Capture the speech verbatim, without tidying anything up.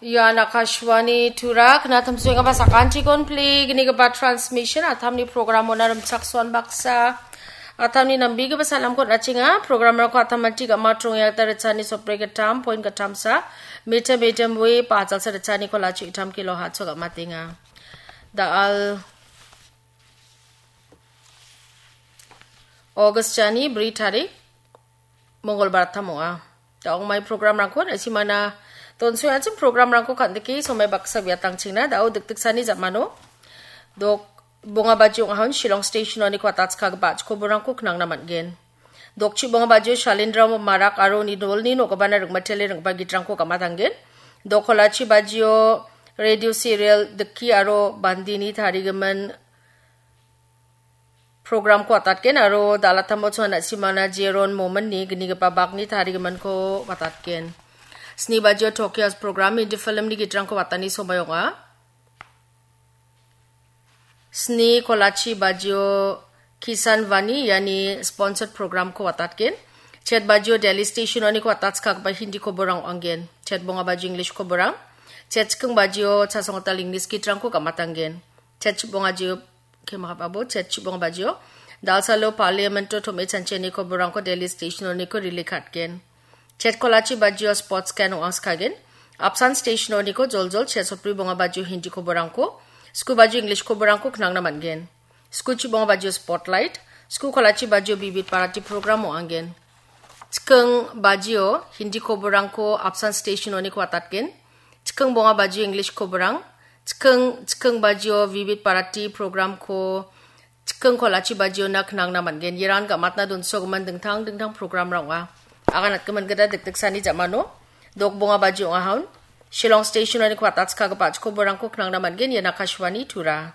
Ian Akashvani Tura, knatamsuengaba sakantikon pli, gnigipa transmission, atamni programona rimchaksoan baksa, atamni nambigipa salamkon achinga, programrangko atamati gama trongya gita richani sopre gatam, point gatamsa, meter medium wave, pajalsa richani kolachi itam kilo hatso gamatenga. Da al August jani bri tarik, Mongolbar tam ong·a. Da ong·mai programrangko na·simana donsoyachim programrangko kan·dike somai baksa biatangchingna da·o dikdiksani jamano. Dok bonga baji ong·ahon Shillong Station-oni kuatatskagipa a·chikoborangko knangna man·gen. Dokchi bonga bajio Shalindra Marak aro nidolni nogabana ringmatele ringba gitrangko gamatanggen. Dokolachi bajio radio serial Dikki aro Bandini tarigimin programko atatgen aro dalatamo chona simana Jeron Mominni gnigipa bakni tarigiminko atatgen. Sni bajio Tokyo's program Hindi filmni gitrangko watani somai ong·a. Sni kolachi bajio Kisan Vani, iani sponsored programko watatgen. Chet bajio Delhi Station-oniko watatskagipa Hindi koborang ong·angen. Chet bonga bajio English koborang. Chet chiking bajio chasonggital English gitrangko gamatanggen. Chet chibonga jio, kemakapabo, chet chibonga bajio. Dalsalo Parliament-o tome chancheni koborangko Delhi Station-oniko rilikatgen. Chet kolachi bajio sports kan ong·angskagen. Apsan Station-oniko joljol chet sotbri bonga bajio Hindi koborangko, sku bajio English koborangko knangna man·gen. Sku chibonga bajio Spotlight, sku kolachi bajio Bibit Bharati program ong·angen. Chiking bajio Hindi koborangko Apsan Station-oniko watatgen. Chiking bonga bajio English koborang. Chiking, chiking bajio Bibit Bharati programko chiking kolachi bajiona knangna man·gen. Iran gamatna donsogimin dingtang dingtang programrang ong·a. Aganatgimin gita dikdiksani jamano. Dok bonga baji ong·ahon. Shillong Station-oniko watatskagipa a·chikoborangko knangna man·gen. Ian Akashvani Tura.